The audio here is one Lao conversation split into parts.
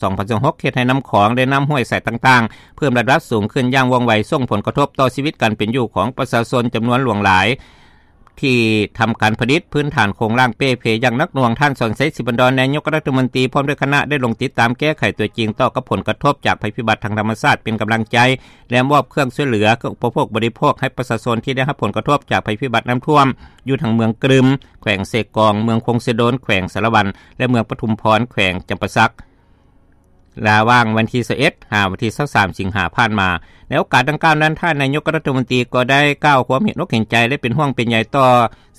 ສອງພັນຊາວຫົກ ເຮັດໃຫ້ນ້ຳຂອງ ແລະ ນ້ຳຫ້ວຍສາຍຕ່າງໆ ເພີ່ມລະດັບສູງຂຶ້ນຢ່າງວ່ອງໄວ, ສົ່ງຜົນກະທົບຕໍ່ຊີວິດການເປັນຢູ່ຂອງປະຊາຊົນຈຳນວນຫຼວງຫຼາຍ ທີ່ທຳການຜະລິດພື້ນຖານໂຄງລ່າງເປ່ເພຢ່າງໜັກໜ່ວງ. ທ່ານ ສອນໄຊ ສີພັນດອນ ນາຍົກລັດຖະມົນຕີ ພ້ອມດ້ວຍຄະນະ ໄດ້ລົງຕິດຕາມແກ້ໄຂຕົວຈິງຕໍ່ກັບຜົນກະທົບຈາກໄພພິບັດທາງທຳມະຊາດ ເປັນກຳລັງໃຈ ແລະ ມອບເຄື່ອງຊ່ວຍເຫຼືອ ເຄື່ອງອຸປະໂພກບໍລິໂພກ ໃຫ້ປະຊາຊົນທີ່ໄດ້ຮັບຜົນກະທົບຈາກໄພພິບັດນ້ຳຖ້ວມ ຢູ່ທັງເມືອງກະລຶມ ແຂວງເຊກອງ, ເມືອງຄົງເຊໂດນ ແຂວງສາລະວັນ ແລະ ເມືອງປະທຸມພອນ ແຂວງຈຳປາສັກ. ລະຫວ່າງວັນທີຊາວເອັດ ຫາວັນທີຊາວສາມ ສິງຫາຜ່ານມາ. ໃນໂອກາດດັ່ງກ່າວນັ້ນ, ທ່ານນາຍົກລັດຖະມົນຕີກໍໄດ້ກ່າວຄວາມເຫັນອົກເຫັນໃຈ ແລະ ເປັນຫ່ວງເປັນໃຍຕໍ່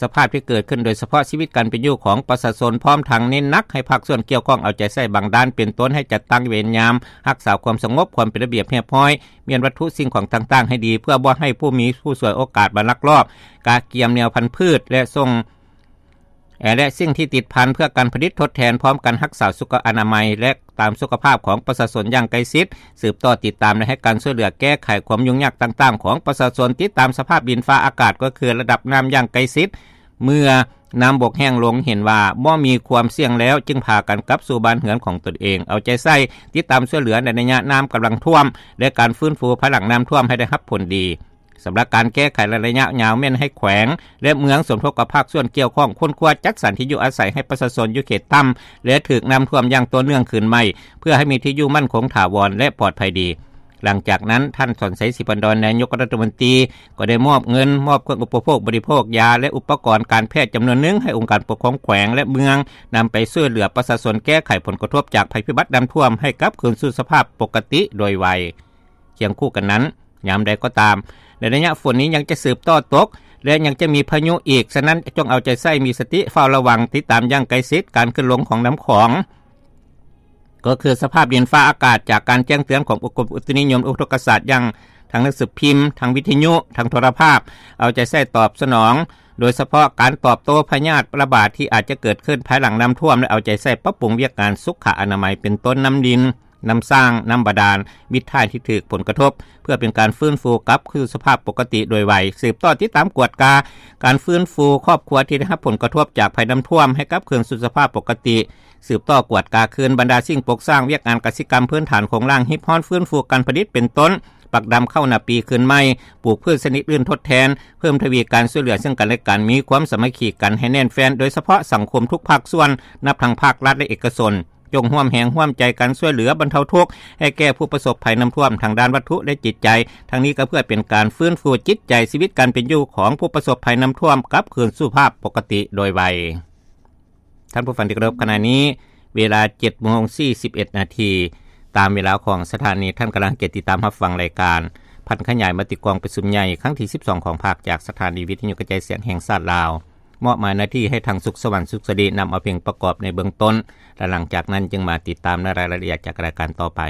ສະພາບທີ່ເກີດຂຶ້ນ, ໂດຍສະເພາະຊີວິດການເປັນຢູ່ຂອງປະຊາຊົນ, ພ້ອມທັງເນັ້ນໜັກໃຫ້ພາກສ່ວນກ່ຽວຂ້ອງເອົາໃຈໃສ່ບັງດ່ານ ເປັນຕົ້ນໃຫ້ຈັດຕັ້ງເວນຍາມ, ຮັກສາຄວາມສະຫງົບ, ຄວາມເປັນລະບຽບຮຽບຮ້ອຍ, ມ້ຽນວັດຖຸສິ່ງຂອງຕ່າງໆໃຫ້ດີ ເພື່ອບໍ່ໃຫ້ຜູ້ມີຜູ້ສວຍໂອກາດມາລັກລອບກະກຽມແນວພັນພືດ ແລະ ສົ່ງ ແລະ ສິ່ງທີ່ຕິດພັນເພື່ອການຜະລິດທົດແທນ, ພ້ອມກັນຮັກສາສຸຂະອະນາໄມ ແລະ ຕາມສຸຂະພາບຂອງປະຊາຊົນຢ່າງໃກ້ຊິດ, ສືບຕໍ່ຕິດຕາມ ແລະ ໃຫ້ການຊ່ວຍເຫຼືອແກ້ໄຂຄວາມຫຍຸ້ງຍາກຕ່າງໆຂອງປະຊາຊົນ, ຕິດຕາມສະພາບດິນຟ້າອາກາດ ກໍຄືລະດັບນ້ຳຢ່າງໃກ້ຊິດ, ເມື່ອນ້ຳບົກແຫ້ງລົງ ເຫັນວ່າບໍ່ມີຄວາມສ່ຽງແລ້ວ ຈຶ່ງພາກັນກັບສູ່ບ້ານເຮືອນຂອງຕົນເອງ, ເອົາໃຈໃສ່ຕິດຕາມຊ່ວຍເຫຼືອໃນໄລຍະນ້ຳກຳລັງຖ້ວມ ແລະ ການຟື້ນຟູພາຍຫຼັງນ້ຳຖ້ວມໃຫ້ໄດ້ຮັບຜົນດີ. ສຳລັບການແກ້ໄຂໃນໄລຍະຍາວ ແມ່ນໃຫ້ແຂວງ ແລະ ເມືອງສົມທົບກັບພາກສ່ວນກ່ຽວຂ້ອງ ຄົ້ນຄວ້າຈັດສັນທີ່ຢູ່ອາໄສໃຫ້ປະຊາຊົນຢູ່ເຂດຕ່ຳ ແລະ ຖືກນ້ຳຖ້ວມຢ່າງຕໍ່ເນື່ອງຄືນໃໝ່ ເພື່ອໃຫ້ມີທີ່ຢູ່ໝັ້ນຄົງຖາວອນ ແລະ ປອດໄພດີ. ຫຼັງຈາກນັ້ນ, ທ່ານ ສອນໄຊ ສີພັນດອນ ນາຍົກລັດຖະມົນຕີ ກໍໄດ້ມອບເງິນ, ມອບເຄື່ອງອຸປະໂພກບໍລິໂພກ, ຢາ ແລະ ອຸປະກອນການແພດຈຳນວນໜຶ່ງ ໃຫ້ອົງການປົກຄອງແຂວງ ແລະ ເມືອງ ນຳໄປຊ່ວຍເຫຼືອປະຊາຊົນແກ້ໄຂຜົນກະທົບຈາກໄພພິບັດນ້ຳຖ້ວມ ໃຫ້ກັບຄືນສູ່ສະພາບປົກກະຕິໂດຍໄວ. ຄຽງຄູ່ກັນນັ້ນ, ຍາມໃດກໍຕາມ, ໃນໄລຍະຝົນນີ້ຍັງຈະສືບຕໍ່ຕົກ ແລະ ຍັງຈະມີພາຍຸອີກ, ສະນັ້ນ ຈົ່ງເອົາໃຈໃສ່ມີສະຕິເຝົ້າລະວັງ, ຕິດຕາມຢ່າງໃກ້ຊິດການຂຶ້ນລົງຂອງນ້ຳຂອງ, ກໍຄືສະພາບດິນຟ້າອາກາດ, ຈາກການແຈ້ງເຕືອນຂອງອົງການອຸຕຸນິຍົມອຸທົກກະສາດ ຢ່າງທາງໜັງສືພິມ, ທາງວິທະຍຸ, ທາງໂທລະພາບ, ເອົາໃຈໃສ່ຕອບສະໜອງ, ໂດຍສະເພາະການຕອບໂຕ້ພະຍາດລະບາດທີ່ອາດຈະເກີດຂຶ້ນພາຍຫຼັງນ້ຳຖ້ວມ ແລະ ເອົາໃຈໃສ່ປັບປຸງວຽກງານສຸຂະອະນາໄມ ເປັນຕົ້ນນ້ຳດິນ, ນ້ຳສ້າງ, ນ້ຳບາດານ, ມິດທ້າຍທີ່ຖືກຜົນກະທົບ ເພື່ອເປັນການຟື້ນຟູກັບຄືນສູ່ສະພາບປົກກະຕິໂດຍໄວ, ສືບຕໍ່ຕິດຕາມກວດກາການຟື້ນຟູຄອບຄົວທີ່ໄດ້ຮັບຜົນກະທົບຈາກໄພນ້ຳຖ້ວມໃຫ້ກັບຄືນສູ່ສະພາບປົກກະຕິ, ສືບຕໍ່ກວດກາຄືນບັນດາສິ່ງປົກສ້າງ, ວຽກງານກະສິກຳພື້ນຖານໂຄງລ່າງ, ຮີບຮ້ອນຟື້ນຟູການຜະລິດ ເປັນຕົ້ນ ປັກດຳເຂົ້ານາປີຄືນໃໝ່, ປູກພືດຊະນິດອື່ນທົດແທນ, ເພີ່ມທະວີການຊ່ວຍເຫຼືອເຊິ່ງກັນແລະກັນ, ມີຄວາມສາມັກຄີກັນໃຫ້ແໜ້ນແຟ້ນ, ໂດຍສະເພາະສັງຄົມທຸກພາກສ່ວນ, ນັບທັງພາກລັດ ແລະ ເອກະຊົນ, ຈົ່ງຮ່ວມແຮງຮ່ວມໃຈກັນຊ່ວຍເຫຼືອບັນເທົາທຸກໃຫ້ແກ່ຜູ້ປະສົບໄພນ້ຳຖ້ວມທາງດ້ານວັດຖຸ ແລະ ຈິດໃຈ, ທັງນີ້ກໍເພື່ອເປັນການຟື້ນຟູຈິດໃຈ, ຊີວິດການເປັນຢູ່ຂອງຜູ້ປະສົບໄພນ້ຳຖ້ວມກັບຄືນສູ່ສະພາບປົກກະຕິໂດຍໄວ. ທ່ານຜູ້ຟັງທີ່ເຄົາລົບ, ຂະນະນີ້ເວລາເຈັດໂມງສີ່ສິບເອັດນາທີ ຕາມເວລາຂອງສະຖານີ. ທ່ານກຳລັງເກັບຕິດຕາມຮັບຟັງລາຍການຜັນຂະຫຍາຍມະຕິກອງປະຊຸມໃຫຍ່ຄັ້ງທີສິບສອງຂອງພັກ ຈາກສະຖານີວິທະຍຸກະຈາຍສຽງແຫ່ງຊາດລາວ. ມອບໝາຍໜ້າທີ່ໃຫ້ທາງສຸກສະຫວັນ ສຸກສະດີ ນຳເອົາເພງປະກອບໃນເບື້ອງຕົ້ນ ແລະ ຫຼັງຈາກນັ້ນຈຶ່ງມາຕິດຕາມໃນລາຍລະອຽດຈາກລາຍການຕໍ່ໄປ.